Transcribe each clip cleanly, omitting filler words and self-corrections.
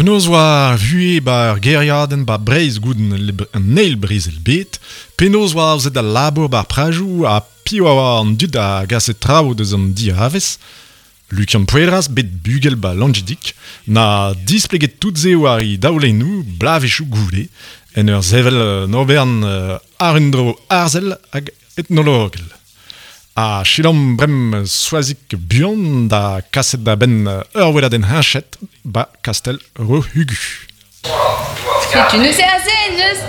Penaos oa ar vuhez 'ba ur gêriadenn 'ba Breizh goude an eil brezel bed, penaos oa aozet al labour 'ba ar prajoù ha piv a oa an dud a gase traoù deus an diavez. Lukian Poeras, bet bugel 'ba Langidig, 'na displeget tout se war e daolennoù bloavezhioù goude, en ur sevel un obern àr un dro arzel hag etnologel. Ha selaomp bremañ Soazig Buan da kaset da benn ur weladenn heñchet 'ba kastell Rohugu. Setu neuze aze en deus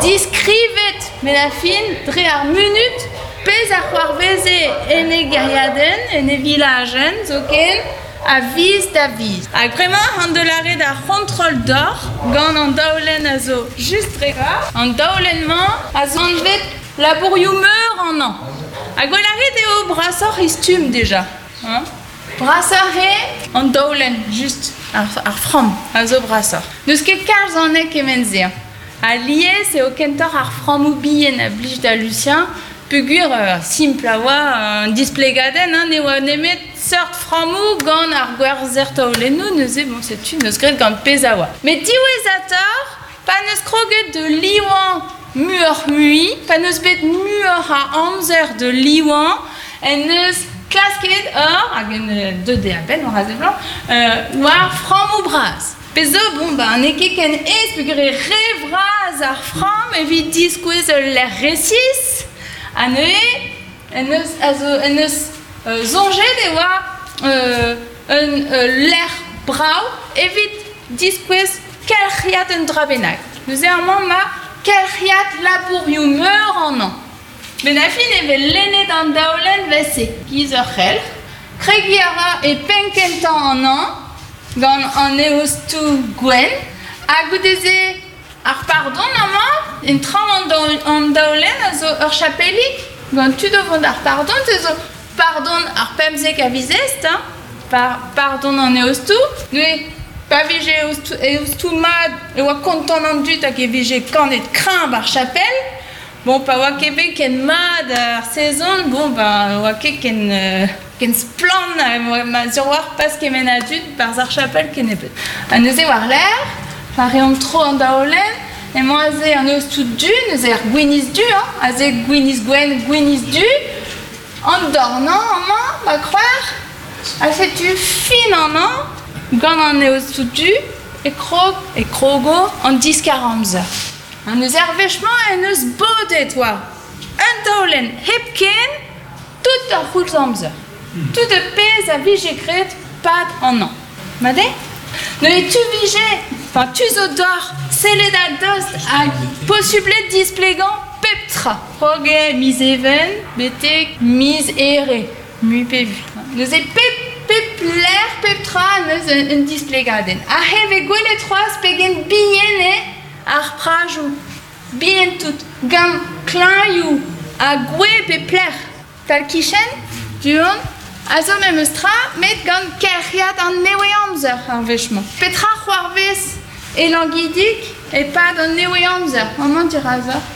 diskrivet met ar fin dre ar munud pezh a c'hoarveze en e gêriadenn, en e vilajenn zoken, a viz da viz. Hag bremañ an deus lâret ar c'hontrol deoc'h gant an daolenn a zo just dre An daolenn-mañ a zo anvet labourioù meur an hañv. Ha gwell a rit eo brasoc'h he stumm deja. Hein? Brasoc'h eo an daolenn, just ar framm a zo brasoc'h. N'eus ket kalz anezhe kement-se. Alies eo kentoc'h ar frammoù bihan a blij da Lucien peogwir simpl a oa an displegadenn, hein, ne oa nemet seurt frammoù gant ar gwerzher taolennoù, neuze bon setu n'eus graet gant pezh a oa. Met diwezhatoc'h, pa n'eus kroget da livañ muioc'h-mui, pa n'eus bet muioc'h a amzer da livañ, en deus klasket ur, hag en deut eo a-benn war a seblant, war frammoù bras. Pezh zo, bon, ben, n'eo ket ken aes peogwir eo re vras ar framm evit diskouez ul lec'h resis, ha neuze en deus, a zo, en deus soñjet e oa un lec'h brav evit diskouez kelc'hiad un dra bennak. Neuze amañ 'ma kelc'hiad labourioù meur amañ. Met a fin e vez lennet an daolenn 'vel-se, giz ur c'helc'h. Kregiñ a ra e penn-kentañ an hañv gant an eostoù gwenn ha goude-se ar pardon amañ, en traoñ an daolenn a zo ur chapelig gant tud o vont d'ar pardon, se zo pardon ar 15 a viz Est, hein, pardon an eostoù. Neuze pa vije eostoù mat e oa kontant an dud hag e vije kanet kreñv ar chapel. Bon, pa oa ket bet ken mat ar sezon, bon, ben, oa ket ken, ken splann, ma sur oar pas kement a dud barzh ar chapel kennebeut. Ha neuze war-lerc'h, pa reomp tro an daolenn, emañ aze an eostoù du, neuze ar gwinizh du, hein, aze gwinizh gwenn, gwinizh du, An dornañ amañ, ma kroer, ha setu fin an hañv gant an eostoù du e krog e krogo an diskar-amzer. An eus er wech-mañ en deus bodet war un taolenn hepken tout ar c'houlz amzer. Tout ar pezh a vije graet 'pad an hañv. Mat eo? Neuze tu vije, enfin tu zo deoc'h sellet a-dost hag posubl eo displegañ pep tra. Krog eo miz Even betek miz Here, mui pe vui. Neuze pep pep lec'h, pep tra neus un displegadenn. Aze e vez gwelet c'hoazh pegen bihan eo ar prajoù, bihan-tout, gant klañioù ha gwez pep lec'h. Tal-kichen, du-hont, a zo memes tra met gant kelc'hiad an nevez-amzer ar wech-mañ. Petra c'hoarvez e Langidig e-pad an nevez-amzer amañ dirazoc'h?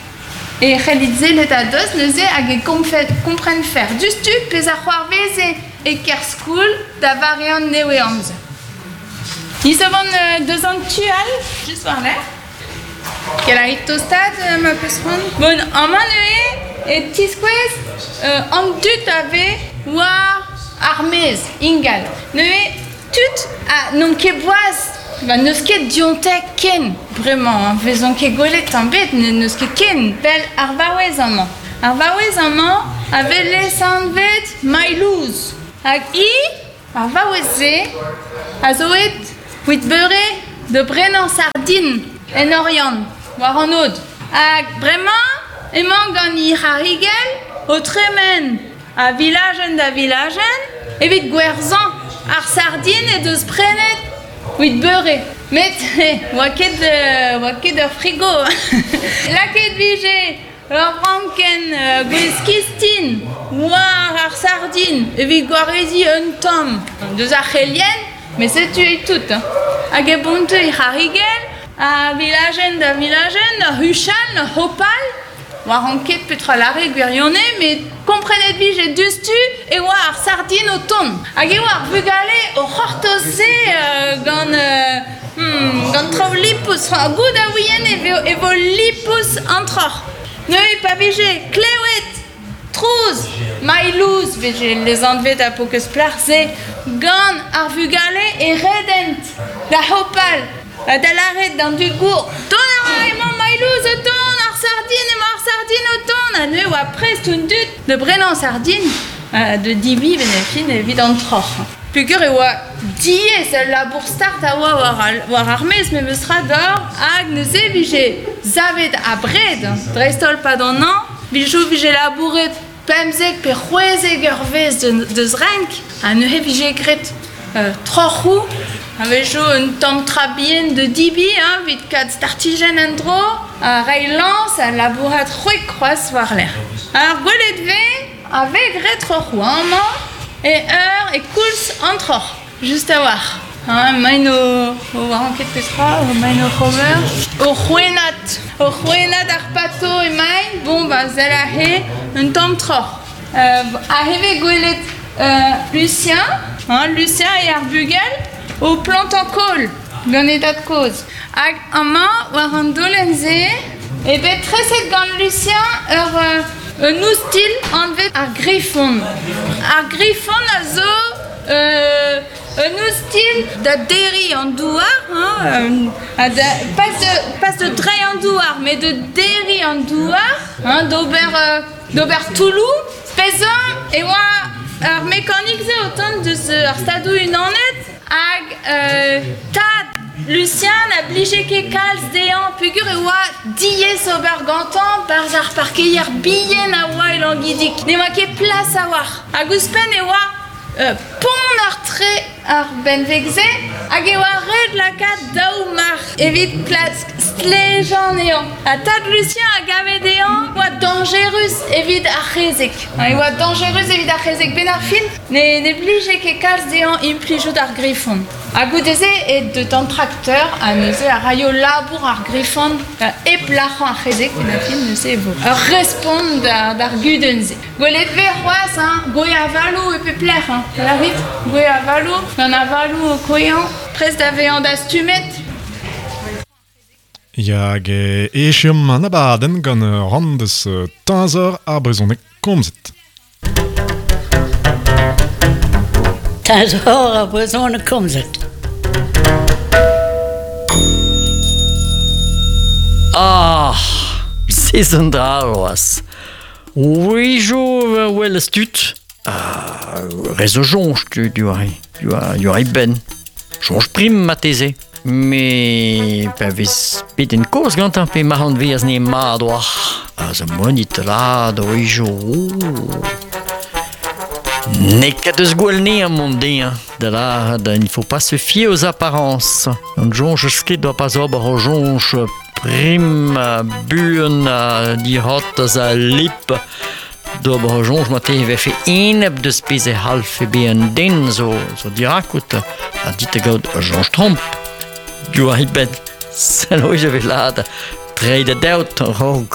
E c'hellit sellet a-dost neuze hag e komprenfec'h diouzhtu pezh a c'hoarveze e Kerskoul da vare an nevez-amzer. Ni zo vont deus an tu all, just war-lerc'h. Gellit tostaat ma peus c'hoant. Bon, amañ neuze e tiskouez an dud a vez war ar maez ingal. Neuze tud ha n'omp ket boaz, ba n'eus ket dionte ken bremañ, hein, 'vezont ket gwelet tamm ebet, n'eus ket ken. Vel ar vaouez amañ. Ar vaouez amañ a vez lesanvet Mailouz. Hag hi Ar vaouez-se a zo aet evit beure da brenañ sardin en Oriant, war an aod. Hag bremañ emañ gant he c'harrigell o tremen a vilajenn da vilajenn evit gwerzhañ ar sardin he deus prenet evit beure. Met oa ket oa ket ur frigo. Lakaet 'vije Ur vrankenn gwez-kistin war ar sardin evit gwareziñ un tamm deus ar c'helien, met setu eo tout. Hag e bonte e c'harrigell a vilajenn da vilajenn, ur huchal, ur hopal. Oaran ket petra lâre gwirionez, met komprenet 'vije diouzhtu e oa ar sardin o tont. Hag e oa ar vugale o c'hortoz se gant... Gant traoù lipous, ha goût a ouien e vo, e vo lipous an troc'h. Neuze pa vije klewet trouz, mailhouz vije lezanvet ar paourkaezh plac'h-se gant ar vugale e redent da hopal ha da lâret d'an dud gour Dont a ra emañ mailhouz o tont, ar sardin emañ ar sardin o tont ha neuze oa prest an dud da brenañ sardin da divi fin evit an troc'h. Peogwir e oa diaes al labour start a oa war al, war ar maez memes tra d'or hag neuze vije savet abred, dreist-holl 'pad an hañv, vije vije labouret 15 pe 16 eurvezh deus renk ha neuze vije graet troc'hoù a-wechoù un tamm tra bihan da debriñ hein, evit kaout startijenn en-dro ha reiñ lañs ha labourat c'hwek c'hoazh war-lerc'h. Ar gwelet 'vez A vez graet troc'hoù amañ e eur e koulz an troc'h, just a-walc'h. Hein, emaint o, o oaran ket petra, emaint oc'h ober. O c'hwennat, o c'hwennat ar pato emaint, bon ba sell aze un tamm troc'h. Aze vez gwelet Lucien, hein, Lucien eo ar bugel, o plantañ kaol gant e dad-kozh. Hag amañ, war an daolenn-se, eo bet treset gant Lucien ur un oustilh anvet ar grifon. Ar grifon a zo un oustilh da derriñ an douar, hein, ha da, pas de, pas de dreiñ an douar, met de derriñ an douar, hein, d'ober d'ober toulloù. Pezh e oa ar mekanik-se o tont deus ar Stadoù-Unanet Hag tad Lucien na blije ket kalz dezhañ peogwir e oa diaes ober gantañ 'barzh ar parkeier bihan a oa e Langidig. Ne oa ket plas a-walc'h. Hag ouzhpenn e oa ponner-tre ar benveg-se hag e oa ret lakaat daou marc'h evit klask stlejañ anezhañ. Ha tad Lucien a gave dezhañ e oa dañjerus evit ar c'hezeg. E oa dañjerus evit ar c'hezeg 'benn ar fin. Ne, ne blije ket kalz dezhañ implijout ar grifon. Ha goude-se e deut an trakteur ha neuze a raio labour ar grifon hep lac'hañ ar c'hezeg en fin neuze e vo ur respont d'ar gudenn-se. Gwelet 'vez c'hoazh hein, gwez avaloù e pep lec'h hein. Lârit gwez avaloù, gant avaloù o kouezhañ, prest da vezañ dastumet. Ya, hag echuomp an abadenn gant ur rann deus Teñzor ar brezhoneg komzet. Teñzor ar brezhoneg komzet. Ah, se zo un dra c'hoazh. Wezhioù 'welez tud, re zo soñj tud diwar e benn. Soñj prim marteze. Met pa vez bet en kozh gantañ pe ma anveaz ne mat oa. A zo monit lad a-wezhioù. N'eo ket eus gwell anezhañ mont dezhañ da lâret il ne faut pas se fier aux apparences. An soñj eus ket oa pas ober ur soñj prim buan ha dic'hortoz ha lip d'ober ur soñj marteze e vefe enep deus pezh e c'hallfe bezañ un den zo, zo dirakout ha dit da gaout ur soñj tromp. Diwar e benn sell e vez lâret treiñ da deod a-raok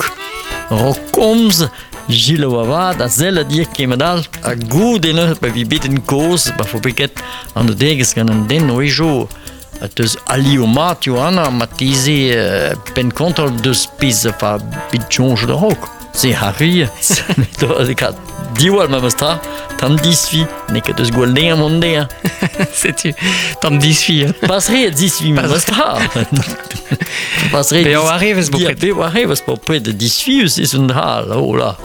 a-raok komz Gillo avat a sell a dir kement all ha goude neuze pa vi bet en kozh pa fo ket an degezh gant an den o A teus alioù mat Johanna marteze penn-kontrol deus pezh fa bet soñj a-raok. Se arri kat diwall memes tra, tamm disfi, n'eo ket eus gwall dezhañ mont dezhañ. Setu, tamm disfi. Pas re disfi memes tra. Pas re. Pe arrivez bopred. Pe arrivez bopred disfi eus un dra, oh là.